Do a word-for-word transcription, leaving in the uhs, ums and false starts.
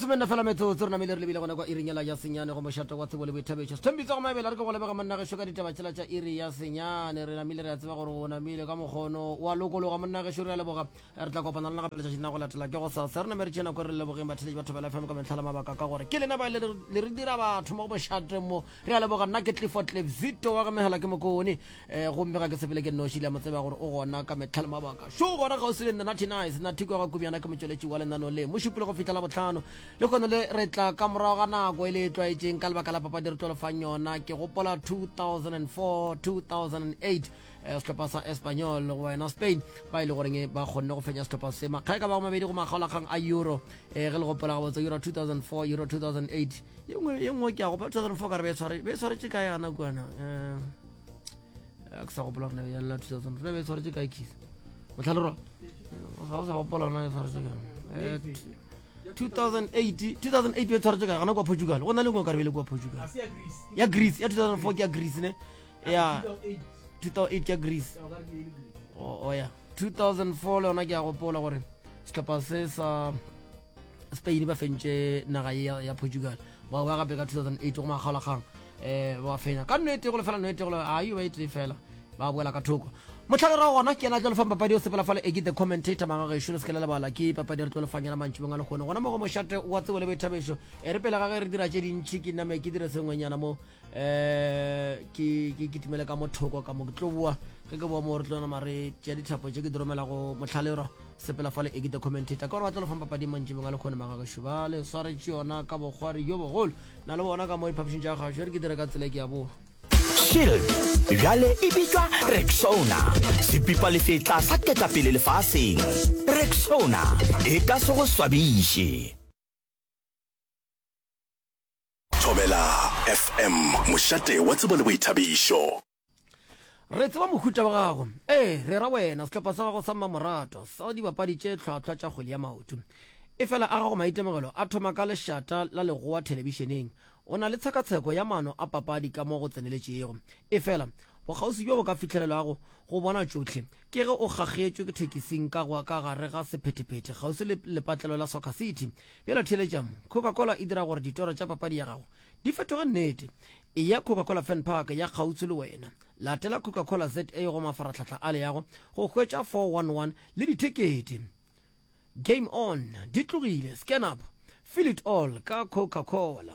Lesomenne fela metsotso re namile re lebile gona kwa iring yela ya senyane go mošate wa tsebo le boithabišo. Sethembitso go mabela re ke go lebega monna gešo ka ditaba tšela tša iri ya senyane. Re namile re a tseba gore o namile ka mokgono wa lokologa monna gešo re a leboga. Re tla kopana le lena gape letšatšing la go latela ke gosasa. Re name re tšee nako re lebogeng batheeletši ba Thobela F M ka mehla le mabaka ka gore ke lena ba le re dira batho mo go mošate mo. Re a leboga nna ke Clifford Cliff Zito wa ga Megala ke Mokone. Eh, gomme ga ke sepele ke nnoši le a mo tseba gore o gona ka mehla le mabaka. Šo gona kgauswi le nna Natty Nice, Natty kwa ga Kubyana ke motšweletši wa lenaneo le. Mošupologo go fihla Labohlano. Lehono le re tla ka morago ga nako e le e tlwaetšeng ka lebaka la papadi re tlo le fang yona. Ke gopola two thousand and four, two thousand and eight, eh, sehlopha sa Espanyol go wena Spain ba e le goreng ba kgonne go fenya sehlopha se makga e ka bago mabedi go makgaolakgang a Euro. Eh, ge le gopola gabotse Euro two thousand four, Euro two thousand eight. Ye nngwe, ye nngwe ke a gopola two thousand four ka re be e tshware, be e tshwaretše kae gana kwana? Eh, ke sa gopola gore ya lla two thousand four, be e tshwaretše kae Keith? Motlhalerwa? Ga o sa gopola na e tshwaretše kae? Eh, two thousand eight, two thousand eight be e tshwaretše kae gana kwa Portugal? Go na le nngwe ka re be le kwa Portugal. Ya Greece, ya two thousand four ke ya Greece ne? Ya two thousand eight ke ya Greece. Oh, oh ya. two thousand four le yona ke a gopola gore sehlopha se sa Spain ba fentše naga ye ya, ya Portugal. Ba ba gape ka two thousand eight go makgaolakgang, eh, ba fenya ka nnete go lefela nnete go le, a yo ba e tee fela ba boela ka thoko. Motlhalerwa gona ke yena a tlo lefang papadi o sepela fale e ke the commentator magagešo le se ke la lebala ke papadi re tlo lefang yona mantšibong a lekgone gona mo go mošate wa tsebo le boithabišo. E re pele ga ge re dira tše dintšhi ke name ke dire sengwenyana mo, eh, ke, ke, ke timele ka mothoko ka mo ke tlo boa. Ge ke boa mo re tlo nama re tšea dithapo tše ke di romela go motlhalerwa sepela fale e ke the commentator ka gore ba tlo lefang papadi mantšibong a lekgone magagešo ba le swaretše yona ka bokgwari jo bogolo. Na le bona ka mo diphapošing tša kgašo re ke dire ka tsela e ke ya boa. Shield bjale e bitšwa Rexona, sepipalefetla sa ketapele lefaseng. Rexona e ka se go swabiše. Thobela F M, mošate wa tsebo le boithabišo. Re tseba mohuta wa gago. Ee, re ra wena, sehlopha sa gago sa mmamoratwa sa dibapadi tše hlwahlwa tša kgwele ya maoto. Efela a gago maitemogelo a thoma ka lešata la legoa thelebišeneng. O na le tshekatsheko ya maano a papadi ka mo go tseneletšego. Efela, bokgauswi bjo bo ka fihlelelwago go bona tšohle ke ge o kgakgetšwe ke thekising ka go ka gare ga sephethephethe kgauswi le lepatlelo la Soccer City. Bjale theeletša mo, Coca-Cola e dira gore ditoro tša papadi ya gago di fetoge nnete. Eya Coca-Cola Fan Park ya kgauswi le wena. Latela Coca-Cola Z A go mafarahlahla a leago go hwetša four one one le dithekete. Game on! Di tlogile! Scan up! Feel it all ka Coca-Cola.